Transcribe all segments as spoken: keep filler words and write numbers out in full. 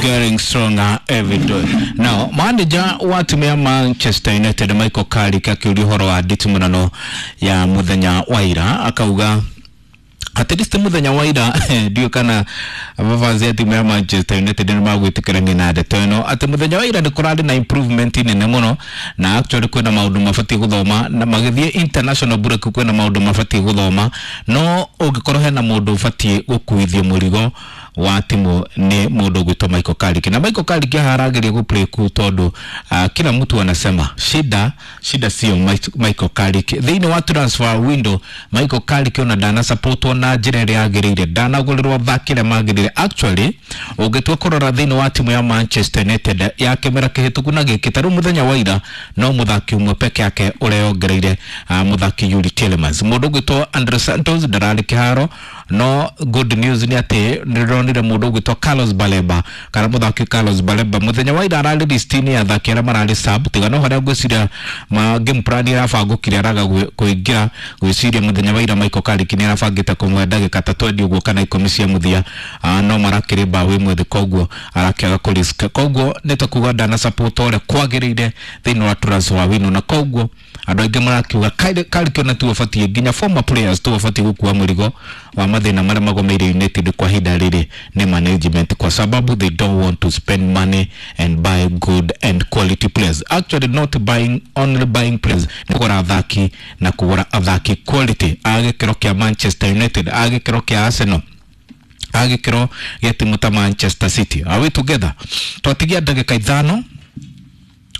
Getting stronger every day. Now, manager wa timu ya Manchester United Michael Carrick akiuria ũhoro wa nditimũrano ya mũthenya wa ira, akauga at least muthenya wa ira ndio kana mavazi ya timu ya Manchester United nĩ magwĩtĩkĩrania na ndeto ĩno atĩ mũthenya wa ira nĩ kũrarĩ na improvement nene mũno, na actually kwĩna maũndũ mabatiĩ gũthoma, na magĩthiĩ international break kwĩna maũndũ mabatiĩ gũthoma, no ũngĩkorwo hena mũndũ ũbatiĩ gũkuithio mũrigo wa timu ni mũndũ ũgwĩtwo Michael Carrick. Na Michael Carrick haha arageria gũ play cool tondũ uh, kila mtu anasema shida shida sio Michael Carrick. Thĩinĩ wa transfer window Michael Carrick ona ndana supportwo na njĩra ĩrĩa yagĩrĩire, ndanagũrĩrwo athaki arĩa magĩrĩire. Actually ũngĩtua kũrora thĩinĩ wa timu ya Manchester United ya kĩmera kĩhĩtũku na gĩkĩ, ta rĩu mũthenya wa ira no mũthaki ũmwe peke yake ũreyongereire, uh, mũthaki Yuri Tielemans. Mũndũ ũgwĩtwo Andre Santos ndararĩ kĩharo, no good news nĩ atĩ nĩndĩronire mũndũ ũgwĩtwo Carlos Baleba kana mũthaki Carlos Baleba mũthenya wa ira ararĩ list-inĩ ya athaki arĩa mararĩ sub, tiga no harĩa ngwĩciria ma game plan ĩrabangũkire araga kũingĩra. Gwĩciria mũthenya wa ira Michael Carrick nĩ arabangĩte kũmwe ndagĩka ta twendi ũguo kana ikũmi cia mũthia, uh, no marakĩrĩ mbaũ ĩmwe thĩ, koguo arakĩaga kũ risk, koguo nĩ ta kuga ndana support ũrĩa kwagĩrĩire thĩinĩ wa transfer window, na koguo andũ aingĩ marakiuga Carrick ona tu ũbatiĩ, nginya former players tu ũbatiĩ gũkua mũrigo wa mathĩna marĩa magomeire United kwa ihinda rĩrĩ nĩ management, kwa sababu they don't want to spend money and buy good and quality players. Actually not buying only buying players, nĩ kũgũra athaki na kũgũra athaki quality a gĩkĩro kĩa Manchester United, a gĩkĩro kĩa Arsenal, a gĩkĩro gĩa timu ta Manchester City. Are we together? Twatigia ndagĩka ithano,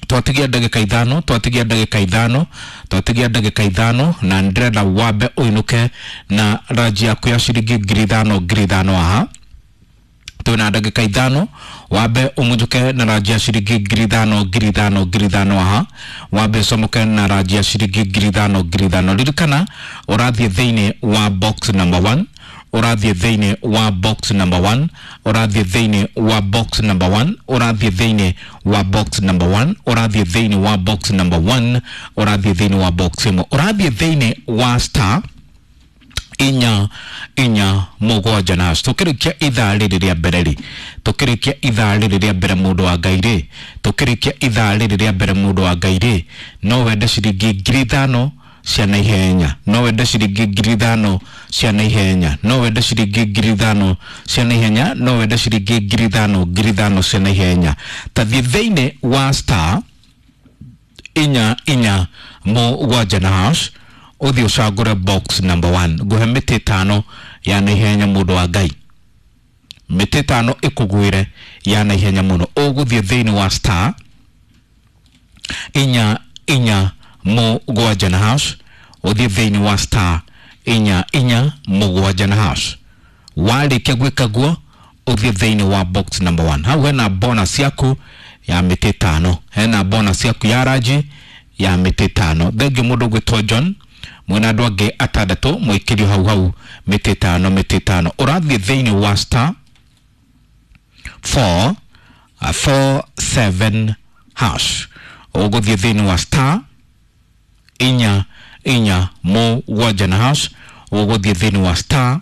twatigia ndagĩka ithano, twatigia ndagĩka ithano, twatigia ndagĩka ithano, na ndĩrenda wambe ũinũke na ranji yaku ya ciringi ngiri ithano ngiri ithano haha. Twĩna ndagĩka ithano, wambe ũmunjuke na ranji ya ciringi ngiri ithano ngiri ithano ngiri ithano haha, wambe ũcomoke na ranji ya ciringi ngiri ithano ngiri ithano. Ririkana ũrathiĩ thĩinĩ wa box number one, ũrathiĩ thĩinĩ wa box number one, ũrathiĩ thĩinĩ wa box number one, ũrathiĩ thĩinĩ wa box number one, ũrathiĩ thĩinĩ wa box number one, ũrathiĩ thĩinĩ wa box ĩmwe, ũrathiĩ thĩinĩ wa star inya inya mũgwanja na tũkĩrĩkia ithaa rĩrĩ rĩa mbere rĩ, tũkĩrĩkia ithaa rĩrĩ rĩa mbere mũndũ wa Ngai rĩ, tũkĩrĩkia ithaa rĩrĩ rĩa mbere mũndũ wa Ngai rĩ, no wende ciringi ngiri ithano cia naihenya, no wende ciringi ngiri ithano cia naihenya, no wende ciringi ngiri ithano cia naihenya, no wende ciringi ngiri ithano ngiri ithano cia naihenya. Tathiĩ thĩinĩ wa star inya inya mũgwanja na hash, ũthiĩ ũcagũre box number one. Ngũhe mĩtĩ ĩtano ya naihenya mũndũ wa Ngai, mĩtĩ ĩtano ĩkũgwĩre ya naihenya mũno. Ũgũthiĩ thĩinĩ wa star inya inya mũgwanja na hash, ũthiĩ thĩinĩ wa star inya inya mũgwanja na hash. Warĩkia gwĩka guo ũthiĩ thĩinĩ wa box number one. Hau hena bonus yaku ya mĩtĩ ĩtano, hena bonus yaku ya ranji ya mĩtĩ ĩtano. Thengiũ mũndũ ũgwĩtwo John mwena andũ angĩ atandatũ mũikĩrio hau hau mĩtĩ ĩtano mĩtĩ ĩtano. Ũrathiĩ thĩinĩ wa star four four seven hash, ũgũthiĩ thĩinĩ wa star inya inya mũgwanja na hash, ũgũthiĩ thĩinĩ wa star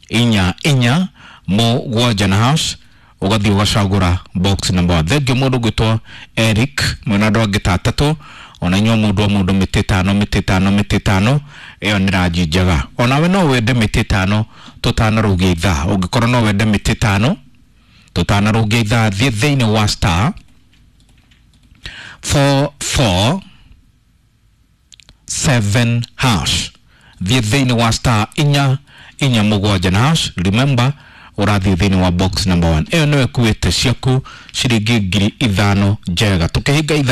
inya inya mũgwanja na hash, ũgathiĩ ũgacagũra box number one. Thengiũ mũndũ ũgwĩtwo Eric mwena andũ angĩ ta atatũ, ona inyuĩ mũndũ o mũndũ mĩtĩ ĩtano mĩtĩ ĩtano mĩtĩ ĩtano, ĩyo nĩ ranji njega. Onawe no wende mĩtĩ ĩtano tũtanarũgia ithaa, ũngĩkorwo no wende mĩtĩ ĩtano tũtanarũgia ithaa, thiĩ thĩinĩ wa star four four seven hash, thiĩ thĩinĩ wa star inya inya mũgwanja na hash. Remember ũrathiĩ thĩinĩ wa box number one. Ĩyo nĩyo ĩkuĩte ciaku ciringi ngiri ithano njega. Tũkĩhinga ithaa